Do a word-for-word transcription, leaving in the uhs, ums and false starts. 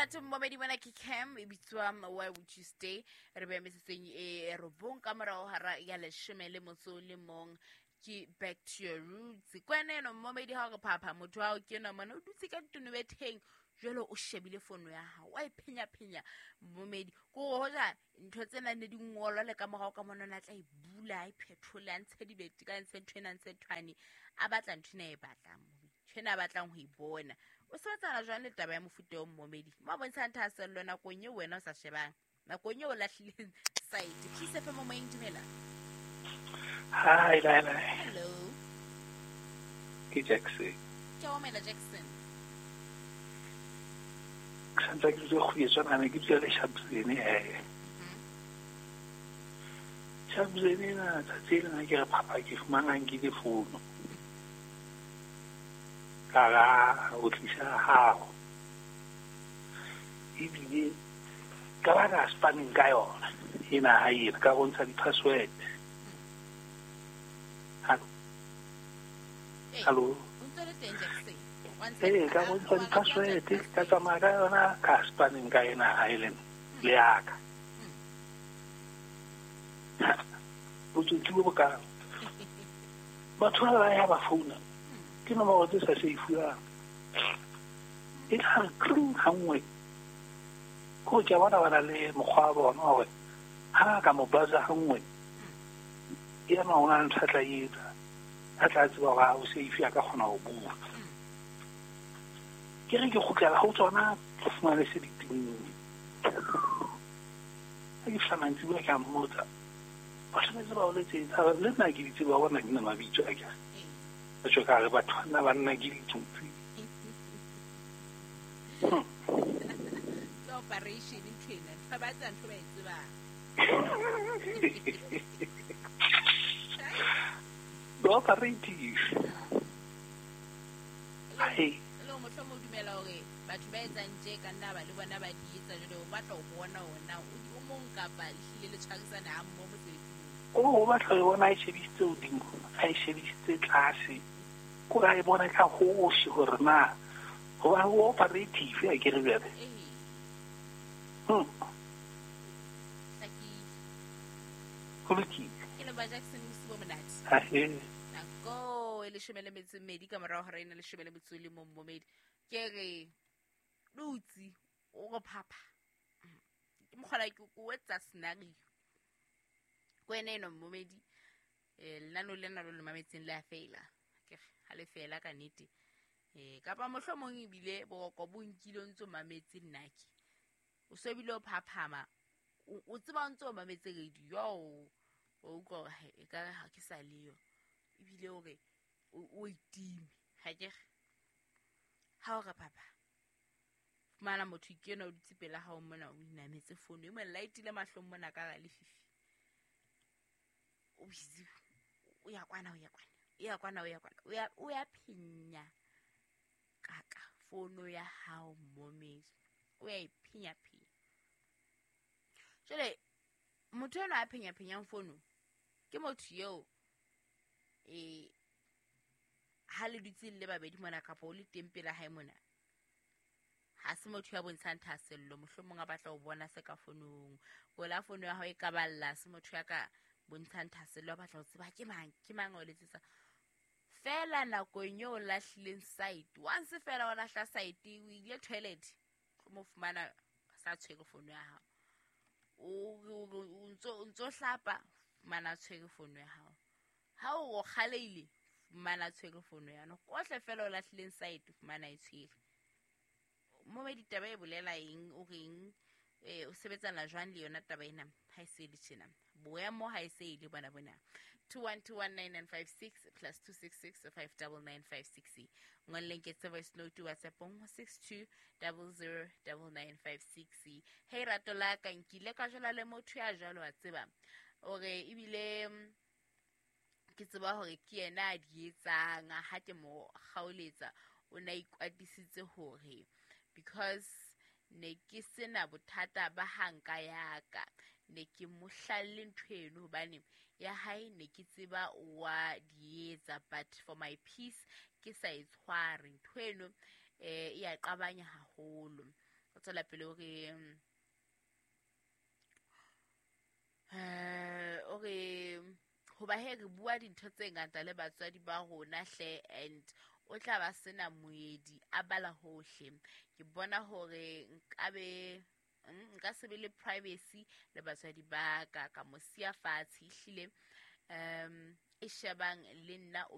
Monate mmomedi mona ke Cam e bitswa Why Would You Stay. Re beha metsotsong e robong ka morao hara ya leshome le motso le mong ke back to your roots. Kwana eno mmomedi ha o re phapha motho wa hao ke enwa mona o dutse ka tonobetheng jwale o shebile fono ya hao wa e phenya-phenya mmomedi ko hoja ntho tsena ne di ngolwa le ka morao ka mona o tla e bula a e phethole a ntshe dibete ka ntshe ntho ena ntshe nthwane a batla ntho ena e batlang ntho ena a batlang ho e bona. O sebetsana jwang le taba ya mofuta o mmomedi mo a bontshang thahasello nakong eo wena o sa shebang nakong eo o lahlileng site. Peace F M moyeng, dumela. Hi, Laila. Hello. Ke Jackson. Ke o mela Jackson. Ke santse ke dutse go etswa ne ke dutse le Shabzene eh. Shabzene na tsatsi le na ke re phapha ke fumana nkile fono. Ka ra o tlisa hao. Ebile ka ba ka spanning ka yona. Ena ha e ka bontsha di-password. Hello. Hello. Eh, ka bontsha di-password ka tsamaya ka yona ka spanning ka ena ha e leng le yaka. Botsotsi bo bokang. Batho ba ba ya ba founa. Ke nomoro tse sa seifuwang. E tla re kring ha nngwe. Ko ke bona ba na le mokgwa wa bona hore ha ka mo buzzer ha nngwe. Ena o na le ntho a tla etsa. A tla tseba hore ha o safe a ka kgona ho bua. Ke re ke kgutlela ho tsona ke fumane se di timme. Ha ke fihla mantsiboya ke a mmotsa. Ba tshwanetse ba o letsetsa le nna ke di tseba bona ke na mabitso a ke. Ba tjho ka re batho bana ba nna ke ditsotsi. Ke operation ntho ena. Ntho ba tsa ntho ba e tsebang. Operative. Ai. Le mohlomong o dumela hore batho ba etsang tje ka nna ba le bona ba di etsa jwale o batla ho bona ona o mong kapa ehlile le tshwarisana ha mmoho mosebetsing. O o batla ho bona a e shebisitse hodimo, a e shebisitse tlase. Ko a e bona ka hohle hore na hoba o operative a ke re bjale. Hmm. Ho lokile. Ke le ba Jackson bosibo monate. Ha e. Nako e leshome le metso e mmedi ka morao hora ena leshome le metso e le mong mmomedi. Ke re dutse o re phapha. Ke mokgola ke o etsa scenario. Ko ena eno mmomedi eh lenano lena lo le mametseng le a feila. Ke re ha le fela ka nnete. Eh kapa mohlomong ebile boroko bo nkile o ntso mametse nnake. O so bile o phaphama. O tseba o ntso mametse radio. O utlwa hore e ka ha ke sa leyo. Ebile o re o itime. Ha ke re ha o re papa fumana motho ke ena o dutse pela hao mona o inametse fono e mo lightile mahlong mona ka ra lefifi. O busy o ya kwana o ya kwana o ya kwana o ya kwana o ya o ya phenya kaka fono ya hao momedi o ya e phenya phenya. Jwale motho ena a phenya phenyang fono ke motho eo eh ha le dutse le babedi mona kapa o le teng pela hae mona ha se motho ya bontshang thahasello mohlomong a batla ho bona se ka fonong kola fono ya hao e ka balla se motho ya ka bontshang thahasello a batla ho tseba ke mang ke mang o letsetsa fela nakong eo lahlileng site once fela o lahla site o ile toilet o mo fumana sa tshwere fono ya hao o ntso ntso hlapa fumana tshwere fono ya hao ha o kgaleile fumana tshwere fono ya no kohle fela o lahlileng site fumana e tshwere. Mo ditaba e bolela eng o reng eh o sebetsana jwang le yona taba ena ha e se le tjena boemo ha e se ile bona bona two one two one nine nine five six plus two six six five nine nine five six. Ngolleng ke tse voice note WhatsApp six two zero zero nine nine five six. Hey rato la ka nkile ka jwala le motho ya jwalo wa tseba o re ebile ke tseba hore ke yena a di etsang ha ke mo kgaoletsa o na ikwatisitse hore because ne ke sena bothata ba hanka yaka ne ke mo hlalle ntho eno hobane ya hae ne ke tseba wa di etsa but for my peace ke sa e tshware ntho eno eh e ya qabanya haholo. O tswela pele o re eh o re hoba he re bua dintho tse ngata le batswadi ba rona hle, and o tla ba sena moedi a bala hohle. Ke bona hore nkabe nka se be le privacy le batswadi ba ka, ka mo siya fatshe. Ehlile um e shebang le nna o